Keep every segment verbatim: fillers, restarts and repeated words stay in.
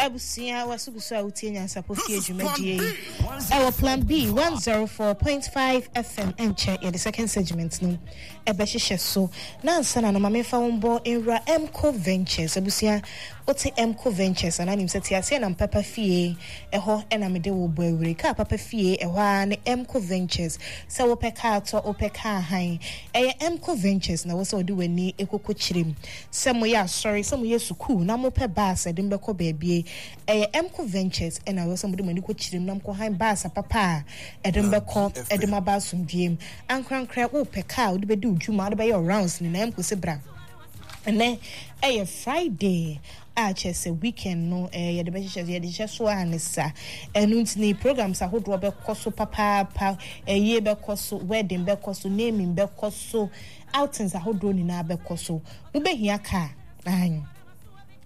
Abusua, waso gu so a wotie Nyansapɔ Fie dwumadie yi ɛwɔ Plan B one zero four point five F M. Ɛnkyɛ yɛde second segment no ɛbɛhyehyɛ so, na ansa na no, ma memfa wo mbɔ nwura Mco Ventures. Abusua, wote Mco Ventures anaa nim sɛ te aseɛ nam papa fie ɛhɔ ɛna mede wo bɔ awure kaa papa fie ɛhɔ ara ne Mco Ventures. Sɛ wopɛ kaa tɔ, wopɛ kaa han, ɛyɛ Mco Ventures na wɔ sɛ wode w'ani ɛkɔkɔ kyerɛ mu. Sɛ moyɛ asɔre, sɛ moyɛ sukuu na mopɛ bus ɛde mbɛkɔ baabie, ɛyɛ Mco Ventures ɛna wɔ sɛ mode mo ani kɔ kyerɛ mu na mokɔ han bus papa a ɛde mbɛkɔ ɛde mo aba asomdwie mu. Ankorankorɛ, wopɛ kaa wode bɛdi wo dwuma, wode bɛyɛ rounds nyinaa, Mco sɛ bra. Ɛnɛ ɛyɛ Friday a kyerɛ sɛ weekend no ɛɛ yɛde bɛhyehyɛ, yɛde hyehyɛ so a ne sa. Ɛno nti ne programs ahodoɔ bɛkɔ so papaapa. Ɛyie bɛkɔ so, wedding bɛkɔ so, naming bɛkɔ so, outings ahodoɔ nyinaa bɛkɔ so. Wobɛhia kaa ahan.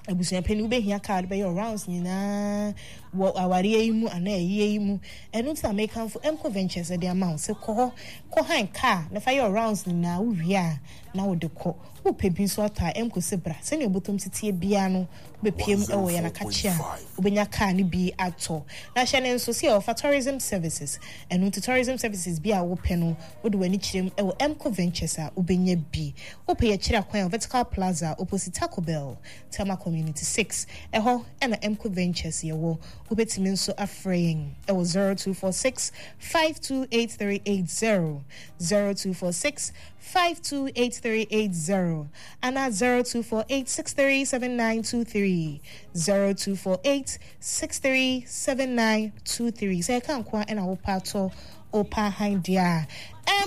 Abusuapanin, wobɛhia kaa de bɛyɛ rounds nyinaa wɔ awareɛ yi mu anaa ɛyie yi mu. Ɛno nti na mekamfo Mco Ventures de ama wo sɛ kɔ hɔ, kɔ han kaa na fa yɛ rounds nyinaa. Wowie a na wode kɔ. Wopɛ bi nso atɔ a, Mco sɛ bra. Sɛnea obotom tetie biara no, wobɛpie mu ɛwɔ yɛn akakye a, wobɛnya kaa no bi atɔ. Na hyɛ ne nso sɛ yɛwɔfa tourism services. Ɛno nti tourism services bi a wopɛ no, wode w'ani kyerɛ mu ɛwɔ Mco Ventures a, wobɛnya bi. Wopɛ yɛkyerɛ akwan a, Vertical Plaza, opposite Taco Bell, Tema Community six, ɛhɔ ɛna Mco Ventures yɛwɔ. Wobɛtumi nso afrɛ yɛn ɛwɔ zero two four six five two eight three eight zero, zero two four six five two eight three eight zero anaa zero two four eight six three seven nine two three, zero two four eight six three seven nine two three. Sɛ ɛka nko a ɛna wopɛ atɔ, wopɛ ahan deɛ a,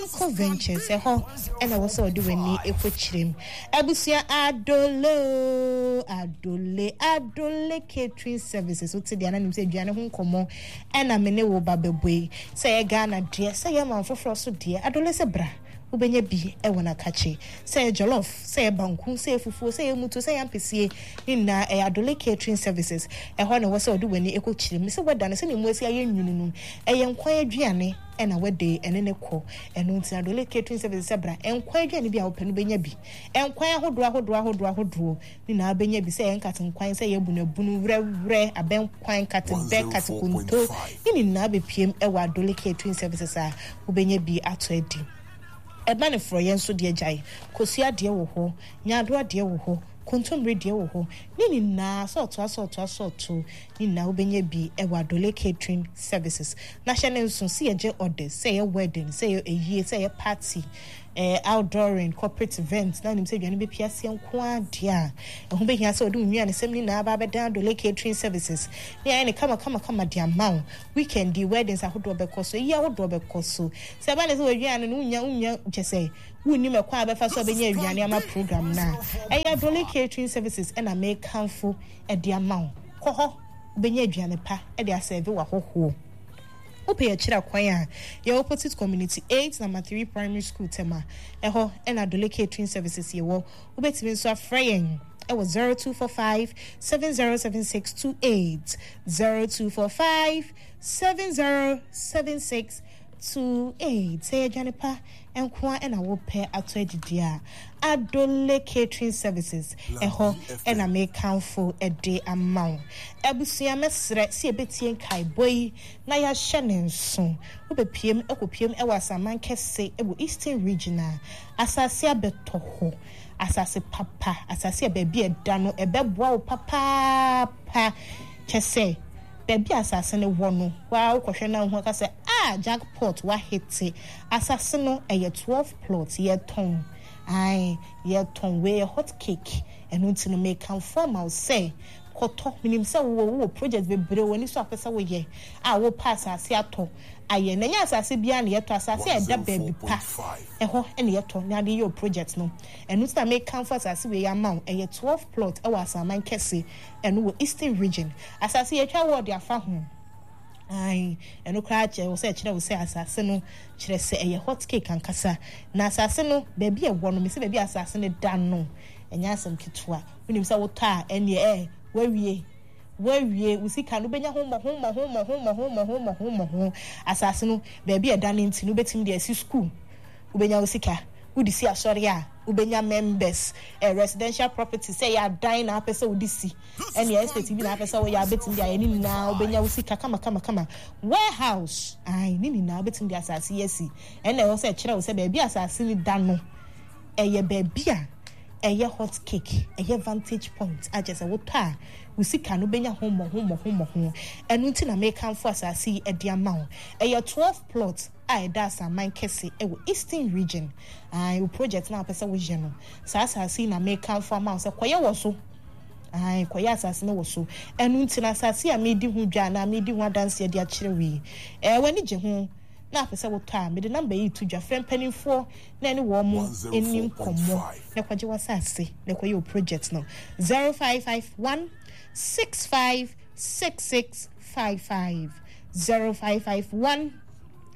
Mco Ventures ɛhɔ ɛna wɔ sɛ ɔde w'ani ɛkɔ kyerɛ mu. Abusua, Adole, Adole, Adole Catering Services, wote deɛ ananim sɛ aduane ho nkɔmmɔ ɛna me ne wo ba bɛbɔ yi. Sɛ ɛyɛ Ghana deɛ, sɛ ɛyɛ man foforɔ so deɛ, Adole sɛ bra, wobɛnya bi ɛwɔ n'akakye. Sɛ ɛyɛ jollof, sɛ ɛyɛ banku, sɛ ɛyɛ fufuo, sɛ ɛyɛ mutu, sɛ ɛyɛ ampesie ne nyinaa, ɛyɛ Adole Catering Services ɛhɔ na ɛwɔ sɛ ɔde w'ani ɛkɔ kyerɛ mu. Sɛ wɛda no sɛnea mu asi ayɛ nwunu no, ɛyɛ nkwan aduane ɛna wɛde ɛne ne kɔ. Ɛno nti Adole Catering Services sɛ bra, nkwan aduane bi a wopɛ no bɛnya bi. Nkwan ahodoɔ ahodoɔ ahodoɔ ahodoɔ ne nyinaa bɛnya bi, sɛ ɛyɛ nkate nkwan, sɛ ɛyɛ bunabunu, werɛwerɛ, abɛnkwan, nkate bɛ, nkate konto ne nyinaa bɛpiem ɛwɔ Adole Catering Services a wobɛnya bi ato adi. Ɛba ne forɔyɛ nso deɛ, gyae, kosua deɛ wɔ hɔ, nyaadoa deɛ wɔ hɔ, kontommire deɛ wɔ hɔ ne nyinaa, sɛ ɔtoa sɛ ɔtoa sɛ ɔto ne nyinaa, wobɛnya bi ɛwɔ Adole Catering Services. Na hyɛ ne nso sɛ yɛgye orders, sɛ ɛyɛ wedding, sɛ ɛyɛ ayie, sɛ ɛyɛ party, eh, outdooring, corporate event na nim sɛ aduane bɛpia aseɛ nko ara deɛ a, ɛho bɛhia sɛ wɔde wo nnuane sɛm nyinaa ba abɛdan Adole Catering Services ne ayɛ ne kama kama kama de ama wo. Weekend yi, weddings ahodoɔ bɛkɔ so, eyi ahodoɔ bɛkɔ so. Sɛ ɛba ne sɛ wɔaduane no wonya wonya kyɛ sɛ wonnim ɛkwan a bɛfa so a bɛnya aduane ama program no a, ɛyɛ Adole Catering Services ɛna mekamfo ɛde ama wo. Kɔ hɔ, wobɛnya aduane pa ɛde aserve w'ahɔhoɔ. Wopɛ yɛkyerɛ kwan a, yɛwɔ opposite Community eight Number three Primary School, Tema. Ɛhɔ ɛna Adole Catering Services yɛwɔ. Wobɛtumi nso afrɛ yɛn ɛwɔ zero two four five seven zero seven six two eight, zero two four five seven zero seven six two eight. Sɛ yɛ aduane pa nko a ɛna wopɛ ato adidi a, Adole Catering Services ɛhɔ ɛna mekamfo ɛde ama wo. Abusua, mɛsrɛ sɛ yɛbɛtie nkaebɔ yi na yɛahyɛ ne nso. Wobɛpiem ɛkɔpiem ɛwɔ Asaman Kɛse ɛwɔ Eastern Region a, asase abɛtɔ hɔ, asase papa, asase a baabi a ɛda no ɛbɛboa wo papaapa. Kyɛ sɛ baabi a asase no wɔ no waa, wokɔhwɛ na wohu aka sɛ, "Ah, jackpot wahete." Asase no ɛyɛ twelve plot, yɛtɔn ae, yɛtɔn. Wei yɛ hot cake. Ɛno nti no mekamfo ama wo sɛ kɔtɔ. Menim sɛ wowɔ wowɔ project bebree wɔ ani so a pɛ sɛ woyɛ a, wopɛ asase atɔ ayɛ. Na ɛnyɛ asase biara na yɛtɔ. Asase a ɛda baabi pa ɛhɔ ɛna yɛtɔ na ade yɛ o project no. Ɛno nti na mekamfo asase wei ama wo. Ɛyɛ twelve plot ɛwɔ Asaman Kɛse, ɛno wɔ Eastern Region. Asase yɛtwa wɔɔde afa ho ae. Ɛno koraa kyerɛ wo sɛ ɛkyerɛ wo sɛ asase no kyerɛ sɛ ɛyɛ hot cake ankasa. Na asase no baabi a ɛwɔ no, mesɛ baabi a asase no da no, ɛnyɛ asɛm ketewa. Wonim sɛ wotɔ a, ɛneɛ ɛ wawie wawie wo sika no, wobɛnya ho mmɔho mmɔho mmɔho mmɔho mmɔho mmɔho mmɔho. Asase no baabi a ɛda no nti no, wobɛtumi de asi school, wobɛnya wo sika. Wode si asɔre a, Wobɛnya members, eh, residential property sɛ ɛyɛ adan na apɛ sɛ wode si, ɛne estate bi na apɛ sɛ woyɛ abɛtumi de ayɛ ne nyinaa, wobɛnya wo sika kama kama kama. Warehouse, ae, ne nyinaa wobɛtumi de asase yi asi. Ɛna ɛwɔ sɛ ɛkyerɛ wo sɛ baabi asase no da no ɛyɛ baabi a ɛyɛ hot cake, ɛyɛ vantage point a kyerɛ sɛ wotɔ a wo sika no bɛnya ho mmɔho mmɔho mmɔho. Ɛno nti na mekamfo asase yi de ama wo. Ɛyɛ twelve plot a ɛda Asaman Kɛse ɛwɔ Eastern Region. Ae, wo project na wopɛ sɛ woyɛ no, saa asase yi na mekamfo ama wo sɛ kɔyɛ wɔ so. Ae, kɔyɛ asase no wɔ so. Ɛno nti na asase a medi ho dwa anaa medi ho adanseɛ de akyerɛ wo yi, ɛɛ, w'ani gye ho na apɛ sɛ wotɔ a, mede number yi to dwa. Frɛ mpanimfoɔ na ɛne wɔn mo ani nkɔmmɔ na kɔgye w'asase na kɔyɛ wo project no. zero five five one six five six six five five, zero five five one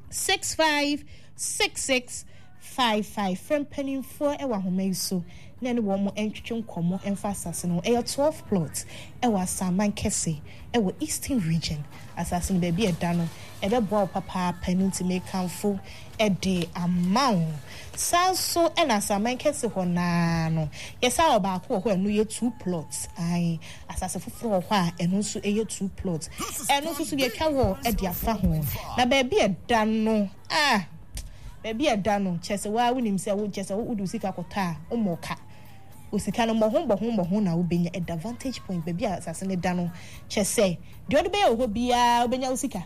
six five six six five five. Frɛ mpanimfoɔ ɛwɔ ahoma yi so na ɛne wɔn mo ntwetwe nkɔmmɔ mfa asase no. Ɛyɛ twelve plot ɛwɔ Asaman Kɛse ɛwɔ Eastern Region. Asase no baabi ɛda no ɛbɛboa wo papaapa, no nti mekamfo ɛde ama wo. Saa nso ɛna Asaman Kɛse hɔ naa no, yɛsa wɔ baako wɔ hɔ, ɛno yɛ two plots. Ae, asase foforɔ wɔ hɔ a ɛno nso ɛyɛ two plots. Ɛno nso so yɛtwa wɔ ɛde afa ho. Na baabi ɛda no, ah, baabi ɛda no kyerɛ sɛ waa wonim sɛ wo kyerɛ sɛ wode sika kɔtɔ a wommɔ ka. Osika no mmɔho mmɔho mmɔho na wobɛnya. Ɛda vantage point baabi a asase no da no, kyerɛ sɛ deɛ ɔde bɛyɛ wɔ hɔ biara wobɛnya wo sika.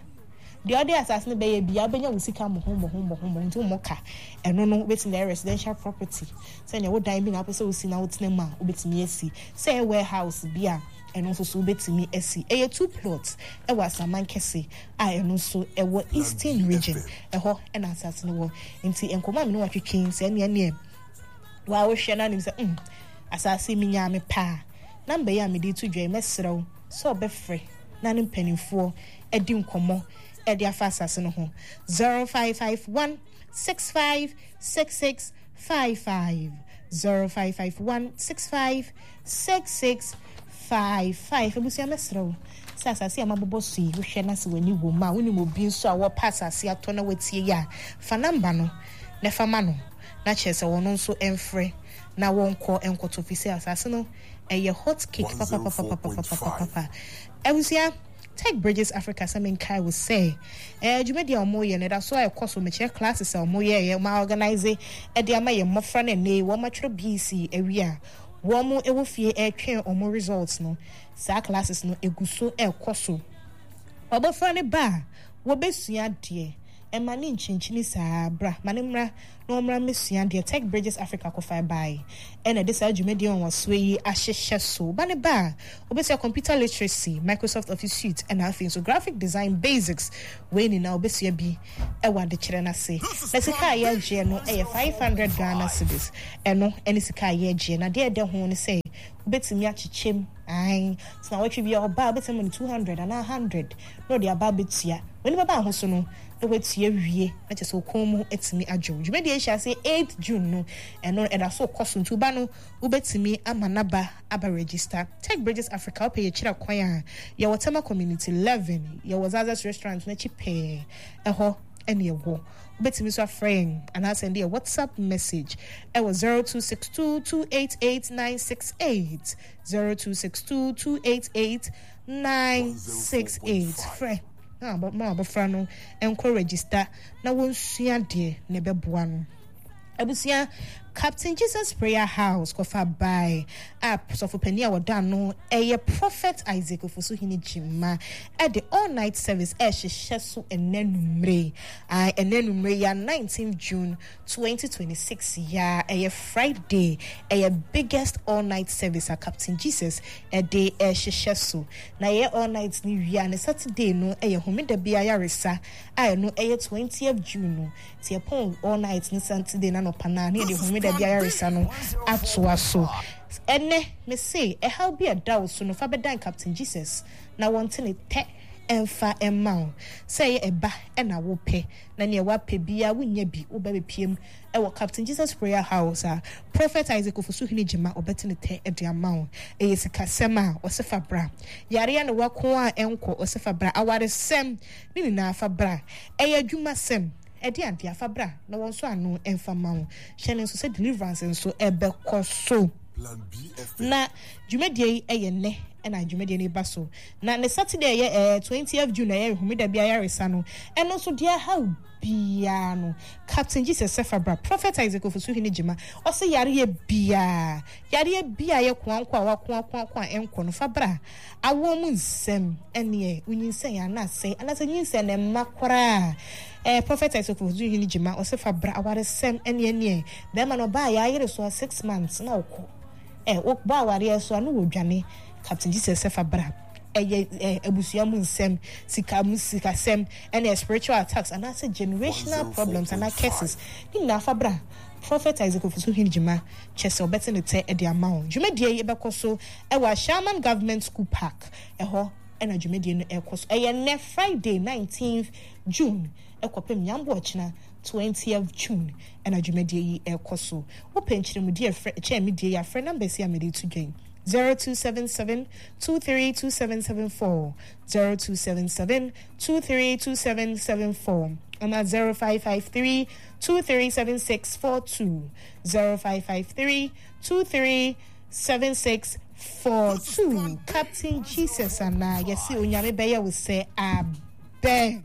Deɛ ɔde asase no bɛyɛ biara wobɛnya wo sika mmɔho mmɔho mmɔho mmɔho, nti wommɔ ka. Ɛno no wobɛtumi de ayɛ residential property, sɛnea wo dan bi na wopɛ sɛ wosi na wotena mu a wobɛtumi asi. Sɛ ɛyɛ warehouse bi a, ɛno nso so wobɛtumi asi. Ɛyɛ two plots ɛwɔ Asaman Kɛse a ɛno nso ɛwɔ Eastern Region. Ɛhɔ ɛna asase no wɔ. Nti nkɔmmɔ a me ne watwetwe sɛ ɛneɛ neɛ waa wohwɛ na anim sɛ mm asase mi nyaa me paa. Number yi a mede to dwa yi, mɛsrɛ wo sɛ ɔbɛfrɛ na ne mpanimfoɔ adi nkɔmmɔ ɛde afa asase no ho. zero five five one six five six six five five, zero five five one six five six six five five. Abusua, mɛsrɛ wo sɛ asase a mabobɔ so yi, wohwɛ na sɛ w'ani wɔ mu a, wonim obi nso a wɔpɛ asase atɔ na watie yi a, fa number no na fa ma no na kyerɛ sɛ wɔn nso mfrɛ na wɔnkɔ nkɔtɔ, fi sɛ asase no ɛyɛ hot cake papapapapapapapa. Abusua, Tech Bridges Africa sɛ menkae wo sɛ eh, dwumadi a wɔyɛ no ɛda so a ɛkɔ so. Mekyerɛ classes a wɔyɛ yɛ wɔn organize ɛde ama yɛn mmɔfra no ɛnɛ wɔn atwerɛ B E C awie a wɔn ɛwɔ fie ɛretwɛn wɔn results no. Saa classes no egu so ɛrekɔ so. Ɔbɔfra no ba a wɔbɛsua adeɛ, ɛma ne nkyinkyini saa bra ma ne mmra na wɔmmra mmɛsua adeɛ. Tech Bridges Africa kɔfa bae ɛna ɛde saa dwumadie wɔn wɔsoɔ yi ahyehyɛ so. Ba ne ba a wobɛsua computer literacy, Microsoft Office Suite, ɛna afei nso graphic design basics. Wei nyinaa wobɛsua bi ɛwɔ adekyerɛ no ase. Na sika a yɛgyeɛ no ɛyɛ five hundred Ghana cedis. Ɛno ɛne sika a yɛgyeɛ. Na deɛ ɛdɛ ho ne sɛ wobɛtumi akyekyɛm. Ae, sɛ na wɔtwe bi a ɔba a, wobɛtumi ama no two hundred anaa hundred na ɔde aba abɛtua. W'ani bɛba ho so no na watua wie, na kyerɛ sɛ okɔn mu atumi adwo. Dwumadie ahyɛ ase eight June no, ɛno ɛda so kɔ so, nti woba no wobɛtumi ama n'aba aba register. Tech Bridges Africa, wopɛ yɛkyerɛ kwan a, yɛwɔ Tema Community eleven, yɛwɔ Zazas Restaurant n'akyi pɛɛ, ɛhɔ ɛne ɛwɔ. Wobɛtumi nso afrɛ yɛn anaasɛ ɛde yɛ WhatsApp message ɛwɔ zero two six two two eight eight nine six eight, zero two six two two eight eight nine six eight. Frɛ na ma abɔfra no nkɔ register na wɔnsua deɛ na ɛbɛboa no. Abusua, Captain Jesus Prayer House kɔfa bae a sɔfopanin a wɔda no ɛyɛ Prophet Isaac Ofosuhene Gyima ɛde all night service ɛhyehyɛ so ɛnɛ numere. Ɛnɛ numere ya nineteen June twenty twenty-six ya, ɛyɛ Friday, ɛyɛ biggest all night service a Captain Jesus ɛde ɛhyehyɛ so. Na ɛyɛ all night ne wia ne Saturday no ɛyɛ homeda bi ayaresa a ɛno ɛyɛ twentieth June no. Nti ɛpɔn all night ne Saturday na nɔpa naa ne yɛde homeda bi ayaresa no atoa so. Ɛnɛ mese ɛhaw bi a ɛda wo so no, fa bɛdan Captain Jesus na wɔnte ne tɛ ɛmfa ɛma wo. Sɛ ɛyɛ ɛba ɛna wopɛ na nea wapɛ biara wonya bi, woba bɛpiem ɛwɔ Captain Jesus Prayer House a Prophet Isaac Ofosuhene Gyima ɔbɛte ne tɛ ɛde ama wo. Ɛyɛ sikasɛm a, ɔsɛ fa bra. Yareɛ ne wako a ɛnkɔ, ɔsɛ fa bra. Awaresɛm ne nyinaa, fa bra. Ɛyɛ adwumasɛm. Ɛde adeɛ afa bra na wɔn nso ano ɛmfa ma wo. Hyɛ ne nso sɛ deliverance nso ɛbɛkɔ so. Plan B F M. Na dwumadie yi ɛyɛ nnɛ ɛna dwumadie no ba so. Na ne Saturday ɛyɛ ɛɛ twentieth June ɛyɛ homeda bi ayaresa no. Ɛno nso deɛ ahaw biara no, Captain Jesus Sefabra, Prophet Isaac Ofosuhene Gyima, ɔsɛ yareɛ biara, yareɛ biara yɛ koanko a wakoakoako a ɛnkɔ no fa bra. Awoɔ mu nsɛm ɛneɛ wonyinsɛn anaasɛ anaasɛ nyinsɛn na ɛmma koraa. Eh, Prophet Isaac Ofosuhene Gyima ɔsɛ fa bra awaresɛm ɛneɛ neɛ bɛrima no ɔbaa yɛ ayere so a six months na ɔkɔ. Eh, wobɔ awareɛ so a no wɔdwane. Captain Jesus Sefabra bra. Ɛyɛ eh, abusua mu nsɛm, sika mu sikasɛm, ɛne spiritual attacks anaasɛ generational problems anaa curses. Ne nyinaa fa bra. Prophet Isaac Ofosuhene Gyima kyɛ sɛ ɔbɛte ne tɛ de ama wo. Dwumadie yi bɛkɔ so ɛwɔ Ashaiman Government School Park. Ɛhɔ ɛna dwumadie no ɛkɔ so. Ɛyɛ nnɛ Friday nineteenth June ɛkɔpem Nyambo ɔkyena twentieth June ɛna dwumadie yi ɛkɔ so. Wopɛ nkyerɛmudie frɛ kyɛn me die yi afrɛ numbers yi a mede to dwa yi. zero two seven seven two three two seven seven four, zero two seven seven two three two seven seven four, and at zero five five three two three seven six four two, zero five five three two three seven six four two. Captain Jesus and I, yes, Onyame Beye will say, Amen.